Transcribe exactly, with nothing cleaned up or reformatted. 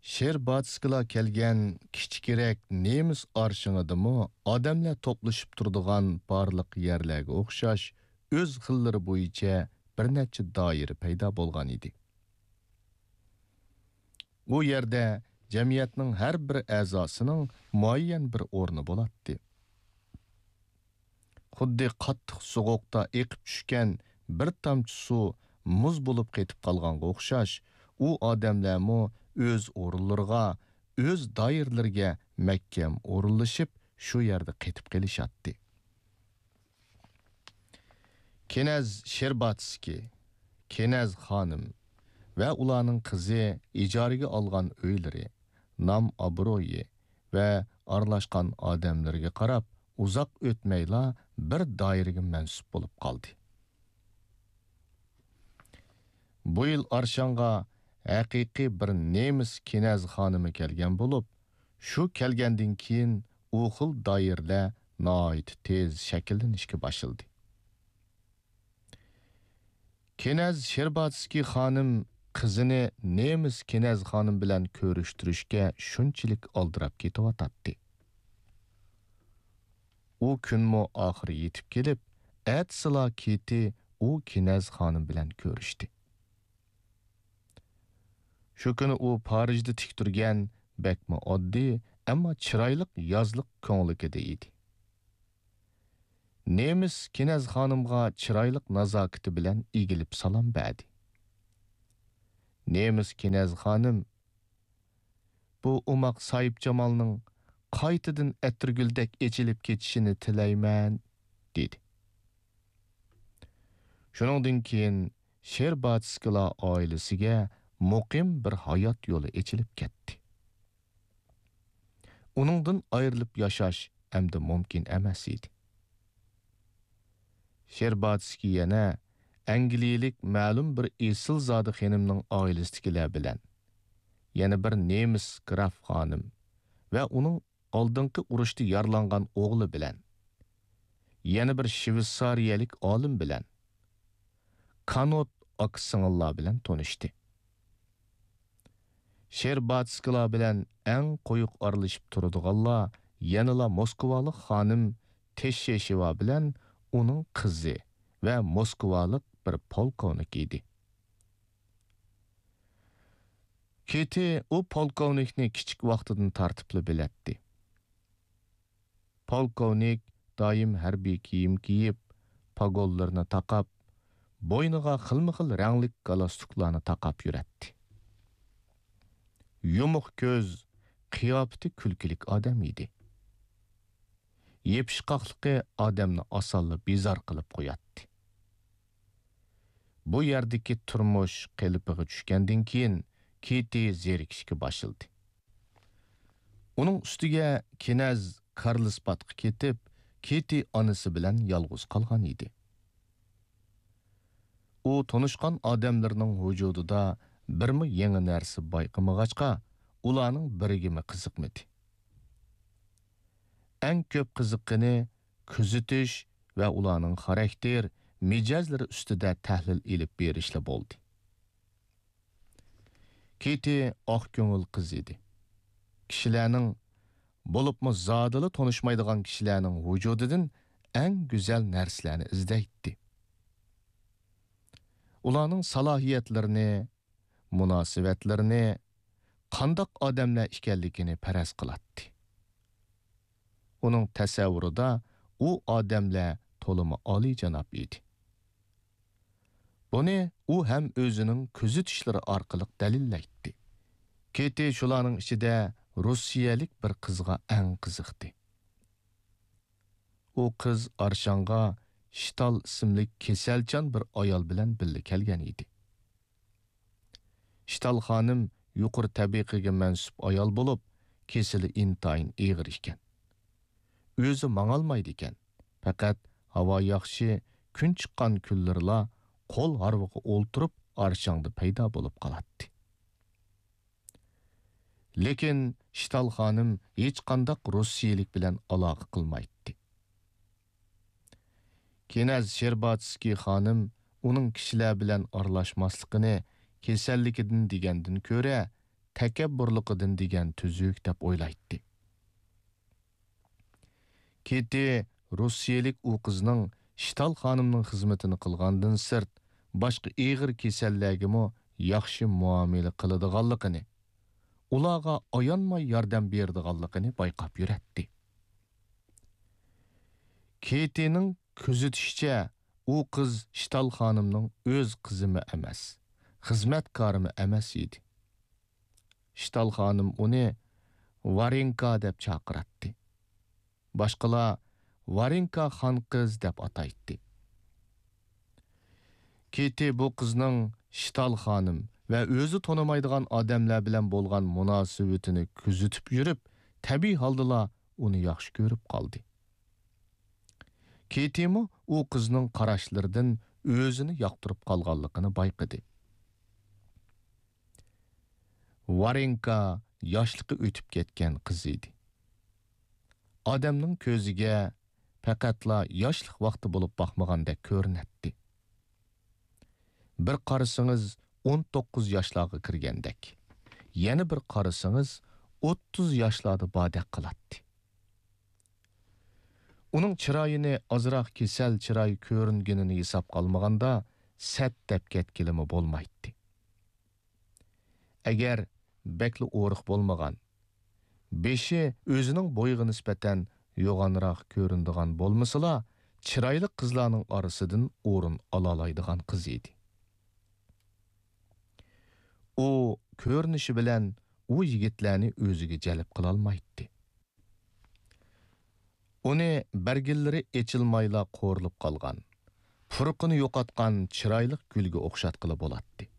شېرباتسكىلار كەلگەن كىچىكرەك نېمىس ئارشىڭىدىمۇ ئادەملەر توپلىشىپ تۇرىدىغان بارلىق يەرلەرگە ئوخشاش ئۆز خىللىرى بويىچە بىر نەچچە دائىرە پەيدا بولغان ئىدى. ئۇ يەردە جەمئىيەتنىڭ ھەر بىر ئەزاسىنىڭ مۇئەييەن بىر ئورنى بولاتتى. خۇددى قاتتىق سوغۇقتا ئېقىپ چۈشكەن بىر تامچە سۇ مۇز بولۇپ قېتىپ قالغانغا ئوخشاش، ئۇ ئادەملەرمۇ ئۆز ئورۇنلىرىغا، ئۆز دائىرىلىرىگە مەھكەم ئورۇنلىشىپ، شۇ يەردە قېتىپ قېلىشاتتى. كېنەز شېرباتسكىي، كېنەز خانىم ۋە ئۇلارنىڭ قىزى ئىجارىگە ئالغان ئۆيلىرى، نام-ئابرۇيى ۋە ئارىلاشقان ئادەملىرىگە قاراپ، ئۇزاق ئۆتمەيلا بىر دائىرىگە مەنسۇپ بولۇپ قالدى. بۇ يىل ئارشاڭغا ھەقىقىي بىر نېمىس كېنەز خانىمى كەلگەن بولۇپ، شۇ كەلگەندىن كېيىن ئۇ خىل دائىرىلەر ناھايىتى تېز شەكىللىنىشكە باشلىدى. كېنەز شېرباتسكىي خانىم قىزىنى نېمىس كېنەز خانىم بىلەن كۆرۈشتۈرۈشكە شۇنچىلىك ئالدىراپ كېتىۋاتاتتى. ئۇ كۈنمۇ ئاخىرى يېتىپ كېلىپ، ئەتىسىلا كېتى ئۇ كېنەز خانىم بىلەن كۆرۈشتى. شۇ كۈنى ئۇ پارىژدا تىكتۈرگەن بەكمۇ ئاددىي، ئەمما چىرايلىق يازلىق كۆڭلىكىدە ئىدى. نېمىس كېنەز خانىمغا چىرايلىق نازاكىتى بىلەن ئېگىلىپ سالام بەردى. نېمىس كېنەز خانىم، «بۇ ئوماق ساھىبجامالنىڭ قايتىدىن ئەتىرگۈلدەك ئېچىلىپ كېتىشىنى تىلەيمەن» دېدى. شۇنىڭدىن كېيىن شېرباتسكىلار ئائىلىسىگە مۇقىم بىر ھايات يولى ئېچىلىپ كەتتى. ئۇنىڭدىن ئايرىلىپ ياشاش ئەمدى مۇمكىن ئەمەس ئىدى. شېرباتسكىي يەنە ئەنگلىيەلىك مەلۇم بىر ئېسىلزادە خېنىمنىڭ ئائىلىسىدىكىلەر بىلەن، يەنە بىر نېمىس گراف خانىم ۋە ئۇنىڭ ئالدىنقى ئۇرۇشتا يارىلانغان ئوغلى بىلەن، يەنە بىر شۋېتسارىيەلىك ئالىم بىلەن، كانوت ئاكا سىڭىللار بىلەن تونۇشتى. شېرباتسكىلار بىلەن ئەڭ قويۇق ئارىلىشىپ تۇرىدىغانلار يەنىلا موسكۋالىق خانىم تېششېشېۋا بىلەن ئۇنىڭ قىزى ۋە موسكۋالىق بىر پولكوۋنىك ئىدى. كېتى ئۇ پولكوۋنىكنى كىچىك ۋاقتىدىن تارتىپلا بىلەتتى. پولكوۋنىك دائىم ھەربىي كىيىم كىيىپ، پاگونلىرىنى تاقاپ، بوينىغا خىلمۇ خىل رەڭلىك گالستۇكلارنى تاقاپ يۈرەتتى. يۇمۇق كۆز، قىياپىتى كۈلكىلىك ئادەم ئىدى. يېپىشقاقلىقى ئادەمنى ئاسانلا بىزار قىلىپ قوياتتى. بۇ يەردىكى تۇرمۇش قېلىپىغا چۈشكەندىن كېيىن، كېتى زېرىكىشكە باشلىدى. ئۇنىڭ ئۈستىگە كېنەز كارلسبادقا كېتىپ، كېتى ئانىسى بىلەن يالغۇز قالغان ئىدى. ئۇ تونۇشقان ئادەملىرىنىڭ ۋۇجۇدىدا بىرمۇ يېڭى نەرسە بايقىمىغاچقا، ئۇلارنىڭ بىرىگىمۇ قىزىقمىدى. ئەڭ كۆپ قىزىققىنى كۆزىتىش ۋە ئۇلارنىڭ خاراكتېر، مىجەزلىرى ئۈستىدە تەھلىل ئېلىپ بېرىشلا بولدى. كېتى ئاق كۆڭۈل قىز ئىدى. كىشىلەرنىڭ، بولۇپمۇ زادىلا تونۇشمايدىغان كىشىلەرنىڭ ۋۇجۇدىدىن ئەڭ گۈزەل نەرسىلەرنى ئىزدەيتتى. ئۇلارنىڭ سالاھىيەتلىرىنى، مۇناسىۋەتلىرىنى، قانداق ئادەملەر ئىكەنلىكىنى پەرەز قىلاتتى. ئۇنىڭ تەسەۋۋۇرىدا ئۇ ئادەملەر تولىمۇ ئالىيجاناب ئىدى. بۇنى ئۇ ھەم ئۆزىنىڭ كۆزىتىشلىرى ئارقىلىق دەلىللەيتتى. كېتى شۇلارنىڭ ئىچىدە روسىيەلىك بىر قىزغا ئەڭ قىزىقتى. ئۇ قىز ئارشاڭغا شتال ئىسىملىك كېسەلچان بىر ئايال بىلەن بىللە كەلگەن ئىدى. شتال خانىم يۇقىرى تەبىقىگە مەنسۇپ ئايال بولۇپ، كېسىلى ئىنتايىن ئېغىر ئىكەن. ئۆزى ماڭالمايدىكەن، پەقەت ھاۋا ياخشى، كۈن چىققان كۈنلىرىلا قول ھارۋىغا ئولتۇرۇپ، ئارشاڭدا پەيدا بولۇپ قالاتتى. لېكىن شتال خانىم ھېچقانداق روسىيەلىك بىلەن ئالاقە قىلمايتتى. كېنەز شېرباتسكىي خانىم ئۇنىڭ كىشىلەر بىلەن ئارىلاشماسلىقىنى كېسەللىكىدىن دېگەندىن كۆرە، تەكەببۇرلۇقىدىن دېگەن تۈزۈك دەپ ئويلايتتى. كېتى روسىيەلىك ئۇ قىزنىڭ شتال خانىمنىڭ خىزمىتىنى قىلغاندىن سىرت، باشقا ئېغىر كېسەللەرگىمۇ ياخشى مۇئامىلە قىلىدىغانلىقىنى، ئۇلارغا ئايانماي ياردەم بېرىدىغانلىقىنى بايقاپ يۈرەتتى. كېتىنىڭ كۆزىتىشىچە، ئۇ قىز شتال خانىمنىڭ ئۆز قىزىمۇ ئەمەس، خىزمەتكارىمۇ ئەمەس ئىدى. شتال خانىم ئۇنى ۋارېنكا دەپ چاقىراتتى. باشقىلار ۋارېنكا خان قىز دەپ ئاتايتتى. كېتى بۇ قىزنىڭ شتال خانىم ۋە ئۆزى تونۇمايدىغان ئادەملەر بىلەن بولغان مۇناسىۋىتىنى كۆزىتىپ يۈرۈپ، تەبىئىي ھالدىلا ئۇنى ياخشى كۆرۈپ قالدى. كېتىمۇ ئۇ قىزنىڭ قاراشلىرىدىن ئۆزىنى ياقتۇرۇپ قالغانلىقىنى بايقىدى. ۋارېنكا ياشلىقى ئۆتۈپ كەتكەن قىز ئىدى. ئادەمنىڭ كۆزىگە پەقەتلا ياشلىق ۋاقتى بولۇپ باقمىغاندەك كۆرۈنەتتى. بىر قارىسىڭىز، ئون توققۇز ياشلارغا كىرگەندەك، يەنە بىر قارىسىڭىز، ئوتتۇز ياشلاردا باردەك قىلاتتى. ئۇنىڭ چىرايىنى ئازراق كېسەل چىراي كۆرۈنگىنىنى ھېسابقا ئالمىغاندا، سەت دەپ كەتكىلىمۇ بولمايتتى. ئەگەر بەكلا ئورۇق بولمىغان، بېشى ئۆزىنىڭ بويىغا نىسبەتەن يوغانراق كۆرۈنىدىغان بولمىسىلا، چىرايلىق قىزلارنىڭ ئارىسىدىن ئورۇن ئالالايدىغان قىز ئىدى. ئۇ كۆرۈنۈشى بىلەن ئۇ يىگىتلەرنى ئۆزىگە جەلپ قىلالمايتتى. ئۇنى بەرگىلىرى ئېچىلمايلا قورۇلۇپ قالغان، پۇرىقىنى يوقاتقان چىرايلىق گۈلگە ئوخشاتقىلى بولاتتى.